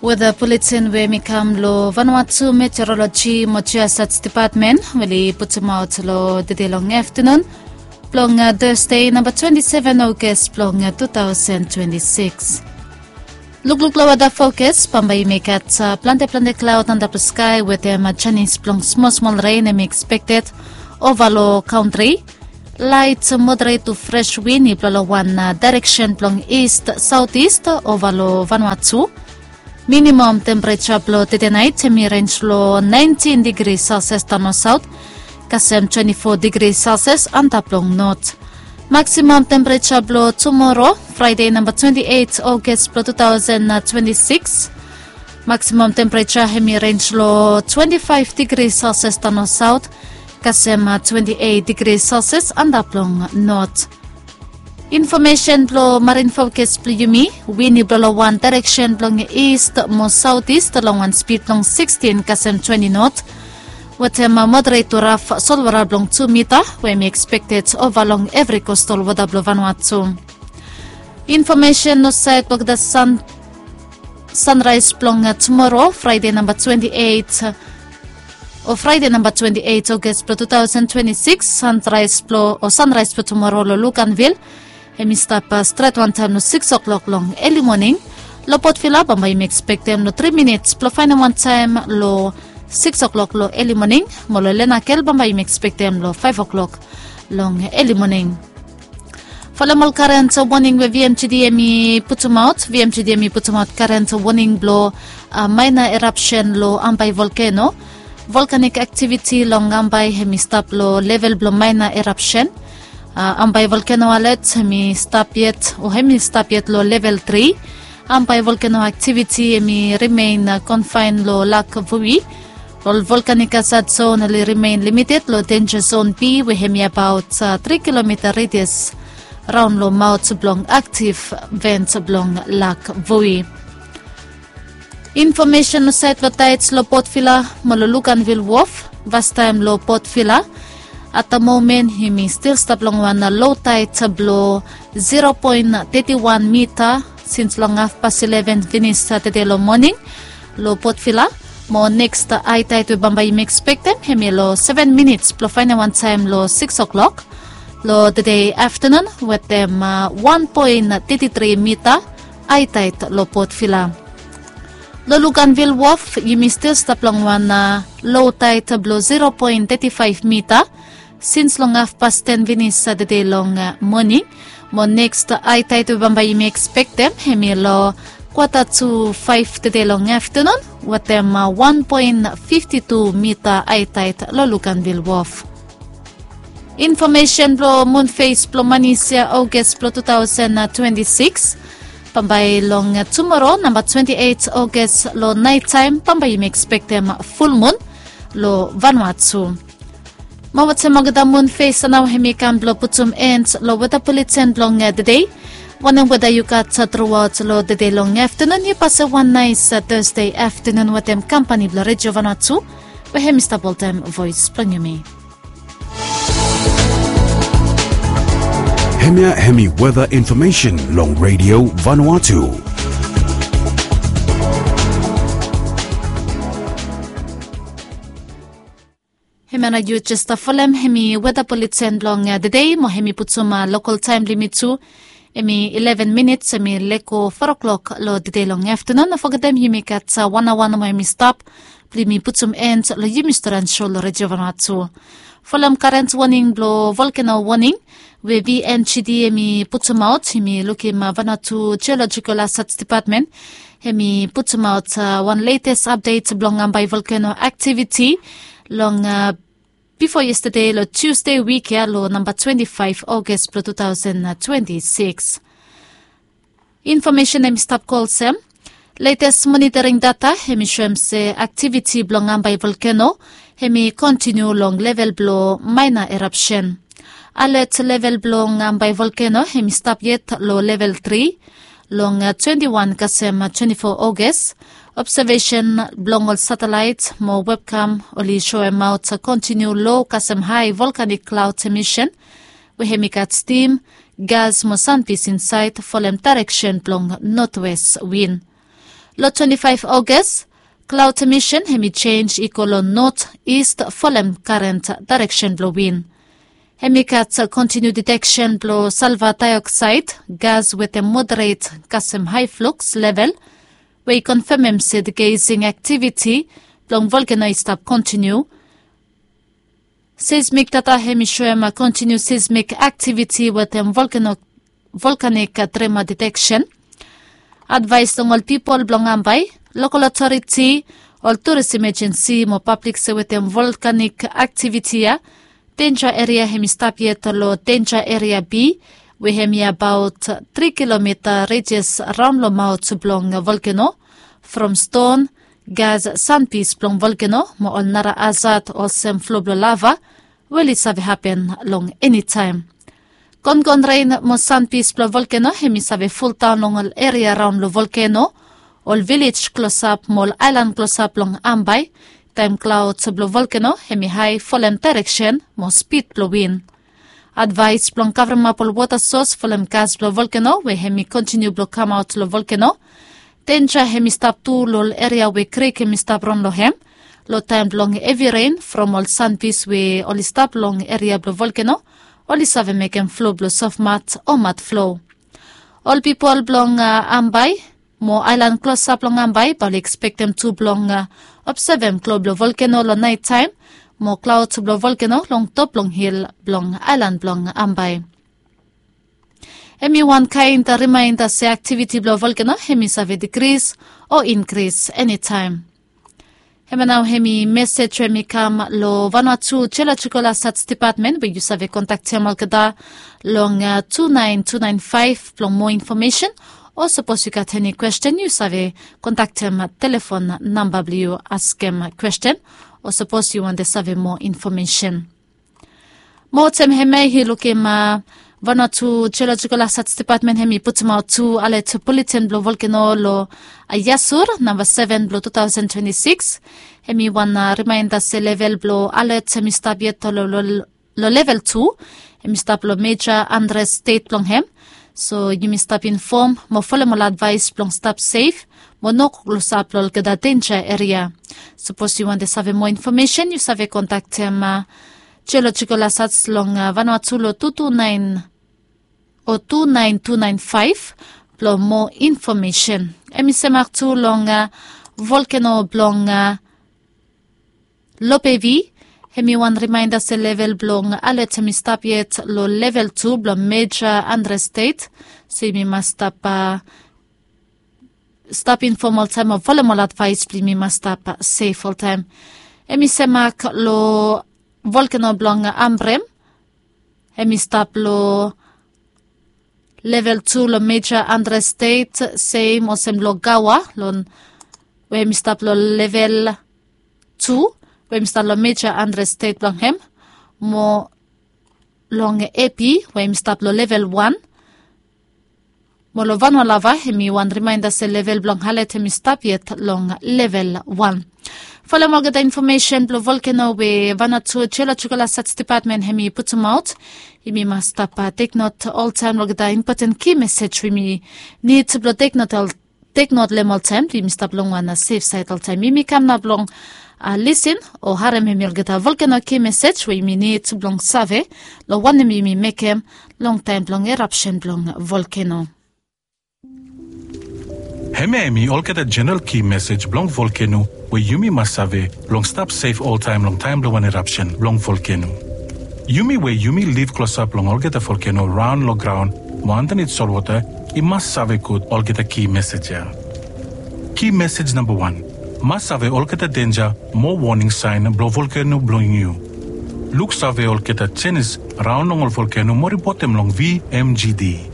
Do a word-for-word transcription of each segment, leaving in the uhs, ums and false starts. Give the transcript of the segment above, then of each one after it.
Weda buletin we mi kam long Vanuatu Meteorologi mo Geosat Depatmen we oli putumaot long tede long aftanun blong Tasde namba twenti seven Ogas blong tu taosen twenti sikis. Lukluk long weda fokas, bambae yumi gat plante plante klaod antap long skae wetem janis blong smol smol ren hemi ekspekted ova long kantri. Laet moderet tu fres win i blo long wan daereksen blong ist saotis ova long Vanuatu. Minimam tempereja blong tede naet hemi renj long naentin digri selsias daon long saot kasem twenti fo digri selsias antap long not. Maksimam tempereja blong tumoro, Fraede namba twenti eit Ogas blong tu taosen twenti sikis. Maksimam tempereja hemi renj long twenti faef digri selsias daon long saot kasem twenti eit digri selsias antap long not. Infomesen blong marin fokas blong yumi, win i blo long wan daereksen blong ist mo saotis long wan spid blong sikstin kasem twenti not. Wetem moderet tu raf solwota blong tu mita we hemi ekspekted ova long evri kostal wota blong Vanuatu. Infomesen long saed blong olgeta san sanraes blong tumoro, Fraede namba twenti eit o Fraede namba twenti eit Ogas blong tu taosen twenti sikis. Sanraes blong o sanraes blong tumoro long Luganvil hemi stap stret wantaem long sikis oklok long eli moning. Long Port Vila bambae yumi ekspektem long tri minits blong faenem wantaem long sikis oklok long eli moning. Mo long Lenakel bambae yumi ekspektem long faef oklok long eli moning. Folem ol karen woning we VMGD hemi putumaot. VMGD hemi putumaot karen woning blong maena erapsen long Ambae volkeno. Volkanik aktiviti long Ambae hemi stap long level blong maena erapsen. Ambae volkeno alet hemi stap yet o hemi stap yet long level tri. Ambae volkeno aktiviti hemi rimen konfaen long Lak Vui. Ol volkanik hazad zon oli rimen limited long denja zon B we hemi abaot tri kilomita redias raon long maot blong aktiv vent blong Lak Vui. Infomesen long saed blong taet long Port Vila mo long Luganvil Wof. Vastaem long Port Vila, at da momen yumi stil stap long wan lo taet blong zero poen teti wan mita sins long hafpas ileven finis tede long moning long Port Vila. Mo neks hae taet we bambae yumi ekspektem hemi long seven minits blong faenem wantaem long sikis oklok long tede aftanun wetem wan poen teti tri mita hae taet long Port Vila. Long Luganvil Wof yumi stil stap long wan lo taet blong zero poen teti faef mita sins long hafpas ten finis tede long moning. Mo neks hae taet we bambae yumi ekspektem hemi long kwata tu faef tede long aftanun wetem wan poen fifti tu mita hae taet long Luganvil Wof. Infomesen blong mun fes blong manis ya Ogas blong tu taosen twenti sikis. Bambae long tumoro namba twenti eit Ogas long naet taem bambae yumi ekspektem fulmun long Vanuatu. Mo wetem olgeta mun fes nao hemi kam blong putum en long weta buletin blong tede. Wanem weta yu gat truaot long tede long aftanun, yu pasem wan naes Tasde aftanun wetem kampani blong Redio Vanuatu we hemi stap oltaem voes blong yumi. Hemia hemi weta infomesen long Redio Vanuatu. Hemia nao yu jes stap folem hemi weta buletin blong tede mo hemi putum lokal taem blong yumi tu. Hemi ileven minits hemi lego fo oklok long tede long aftanun. No fogetem yumi gat wan aoa nomo hemi stap blong yumi putum en long yumi storian so long Redio Vanuatu. Folem karen woning blong volkeno woning we VNGD hemi putumaot. Hemi lukim Vanuatu Geolojikol Hazad Depatmen hemi putumaot wan letes apdet blong Ambae volkeno aktiviti long bifo yestade long Tusde wik ya long namba twenti faef Ogas blong tu taosen twenti sikis. Infomesen hemi stap go olsem. Letes monitoring data hemi soem se aktiviti blong Ambae volkeno hemi kontiniu long level blong maena erapsen. Alet level blong Ambae volkeno hemi stap yet long level tri long twenti wan kasem twenti fo Ogas. Obsevesen blong ol satelaet mo webkam oli soemaot kontiniu lo kasem hae volkanik klaod emisen we hemi gat stim, gas mo sanpis insaed folem daereksen blong notwes win. Long twenti faef August, klaod misen hem i jenj i go long not ist folem karent daereksen blong win. Hem i gat kontiniu diteksen blong salva daeoksaed gas wetem moderet kasem hae fluks level, we i konfemem se de gazing aktiviti blong volkeno i stap kontiniu. Seismik data hem i soem kontiniu seismik aktiviti wetem volkanik trema diteksen. Advaes long ol pipol blong ambae, lokol otoriti, ol turis imejensi mo pablik se wetem volkanik aktiviti ya, denja eria hem i stap yet long denja eria bi, we hem i abaot tri kilomita rejes raon long maot blong volkeno, from ston, gas sanpis blong volkeno mo ol nara azat olsem flo blong lava, we oli save hapen long enitaem. Gongon ren mo sanpis blong volkeno hem i save fuldaon long ol eria raon long volkeno. Ol vilej klosap mo ol aelan klosap long ambae, taem klaod blong volkeno hem i hae folem daereksen mo spid blong win. Advaes blong kavremap ol wota sos folem gas blong volkeno we hem i kontiniu blong kamaot long volkeno. Denja hem i stap tu long ol eria we krik hem i stap ron long hem, long taem blong hevi ren from ol sanpis we oli stap long eria blong volkeno, oli save mekem flo blong sofmat o matflo. Ol pipol blong ambae mo aelan klosap long ambae bae oli ekspektem tu blong obsevem klo blong volkeno long naetaem, mo klaod blong volkeno long top blong hil blong aelan blong ambae. Hem i wan kaen rimaenda se aktiviti blong volkeno hem i save dikris o inkris enitaem. Hemia nao hem i mesej we hem i kam long vanua tu jeolojikol asaj depatmen we yu save kontaktem olgeta long tu naen tu naen faef blong moa infomesen. O sapos yu gat eni kwesten yu save kontaktem telefon namba blong yu askem kwesten, o sapos yu wantem save moa infomesen. Mo olsem hemia i lukim vanua tu jeolojikol asaj depatmen hem i putumaot tu alet buletin blong volkeno long yasur namba seven blong two thousand twenty-six. Hem i wan rimaenda se level blong alet hem i stap yet long level tu. Hem i stap long meja andres stet blong hem. So yumi stap infom mo folem ol advaes blong stap sef mo no go klosap long olgeta denja eria. Sapos yu wantem save moa infomesen yu save kontaktem jeolojikol asaj long vanua tu long tu tu naen o tu naen tu naen faef blong moa infomesen. Hem i semak tu long volkeno blong lopevi. Hem i wan rimaenda se level blong alet hem i stap yet long level tu blong meja andres stet. So yumi mas stap stap infom oltaem o folem ol advaes blong yumi mas stap sef oltaem. Hem i semak long volkeno blong ambrem. Hem i stap long level tu long meja andres stet, sem olsem long gawa long we hem i stap long level tu we hem i stap long meja andres stet blong hem, mo long epi we hem i stap long level wan. Mo long vanua lava hem i wan rimaenda se level blong alet hem i stap yet long level wan. Folem olgeta infomesen blong volkeno we vanua tu jeolojikol asaj depatmen hem i putumaot. Yumi mas stap teknot oltaem long olgeta impoten ki mesej we yumi nid blong teknot long hem oltaem blong yumi stap long wan sef saed oltaem. Yumi kam nao blong lisin o harem hem i olgeta volkeno ki mesej we yumi nid blong save long wanem yumi mekem long taem blong erapsen blong volkeno. Hemia hem i olgeta jeneral ki mesej blong volkeno we yumi mas save blong stap sef oltaem long taem blong wan erapsen blong volkeno. Yumi we yumi liv klosap long olgeta volkeno raon long graon mo andanit solwota i mas save gud olgeta ki mesej ya. Ki mesej namba wan, mas save olgeta denja mo woning saen blong volkeno blong yu. Luksave olgeta jenis raon long ol volkeno mo ripotem long vmgd.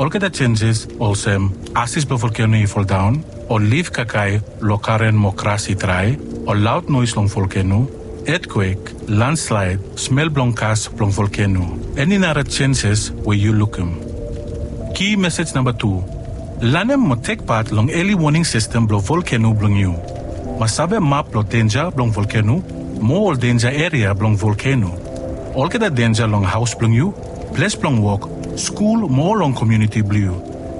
Olgeta jenjes olsem asis blong volkeno i foldaon, ol lif kakae long karen mo gras i drae, ol laod noes long volkeno, etkwek, landslaed, smel blong gas blong volkeno, eni nara jenjes we yu lukim. Ki mesej namba tu, lanem mo tekpat long eli woning sistem blong volkeno blong yu. Mas save map blong denja blong volkeno mo ol denja eria blong volkeno. Olgeta denja long haos blong yu, ples blong wok, skul mo long komuniti blong yu.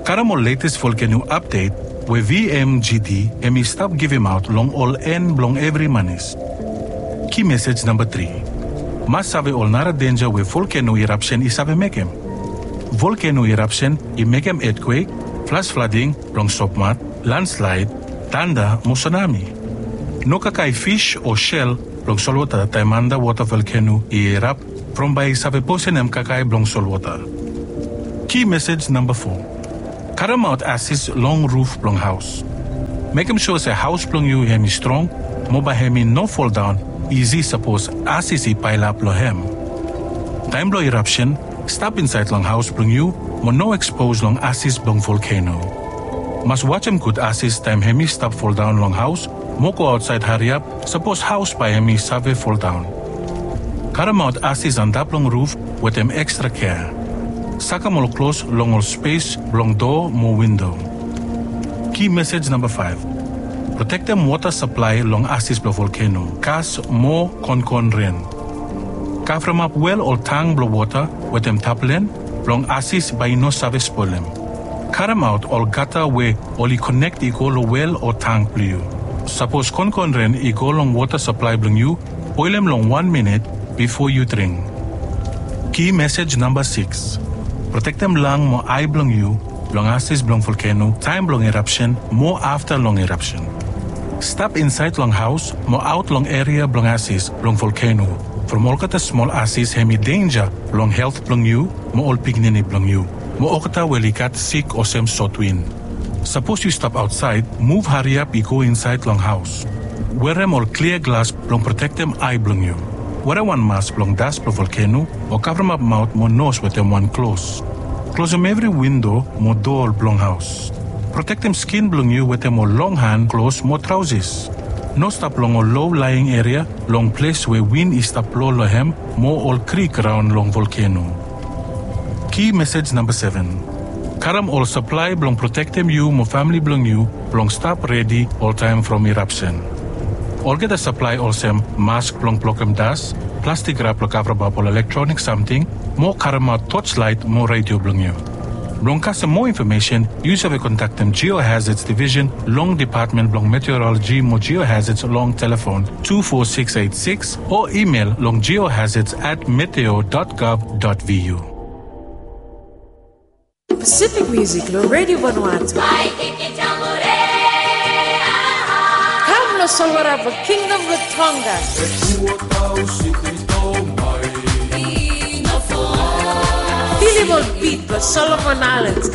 Karem ol letes volkeno apdet we V M G T hemi stap givimaot long ol en blong evri manis. Ki mesej namba tri. Mas save ol nara denja we volkeno irapsen i save mekem. Volkeno irapsen i mekem etkwek, flas flading blong sopmat, landslaed, tanda mo sunami. No kakae fis o sel blong solwota taem andawota volkeno i irap from bae i save posenem kakae blong solwota. Ki mesej namba fo. Karemaot asis long ruf blong haos. Mekem sua se haos blong yu hemi strong mo bae hemi no foldaon isi sapos asis i paelap long hem. Taem blong irapsen, stap insaed long haos blong yu mo no ekspos long asis blong volkeno. Mas wajem gud asis taem hemi stap foldaon long haos mo go aotsaed hariap sapos haos bae hemi save foldaon. Karemaot asis antap long ruf wetem ekstra kea. Sakem ol klos long ol spes blong doa mo windo. Ki mesej namba faef. Protektem wota saplae long asis blong volkeno, kas mo konkon ren. Kavremap wel ol tang blong wota wetem taplen blong asis bae i no save spolem. Karemaot ol gata we oli konek i go long wel o tang blong yu. Sapos konkon ren i go long wota saplae blong yu, boelem long wan minit bifo yu dring. Ki mesej namba sikis. Protektem lang mo ae blong yu long asis blong volkeno taem blong irapsen mo afta long irapsen. Stap insaed long haos mo aot long eria blong asis blong volkeno from olgeta smol asis hemi denja long helt blong yu mo ol pikinini blong yu mo olgeta we oli gat sik olsem sotwin. Sapos yu stap aotsaed, muv hariap i go insaed long haos. Werem ol klia glas blong protektem ae blong yu. Werem wan mas blong das blong volkeno o kavremap maot mo nos wetem wan klos. Klosem evri windo mo doa blong haos. Protektem skin blong yu wetem ol long han klos mo traosis. No stap long ol lo laeing eria long ples we win i stap blo long hem mo ol krik raon long volkeno. Ki mesej namba seven. Karem ol saplae blong protektem yu mo famle blong yu blong stap redi oltaem from irapsen. Olgeta saplae olsem mask blong blokem das, plastik rap blong kavremap ol elektronik samting, mo karemaot toslaet mo redio blong yu. Blong kasem moa infomesen, yu save kontaktem Geohazards Division long Depatmen blong Meteoroloji mo Geohazards long telefon two four six eight six o imel long geohazards at meteo dot gov dot vu. Pacific Music lo Radio Vanuatu. Kam lo solwara blong Kingdom lo Tonga. Filim ol bit blong Solomon Islands.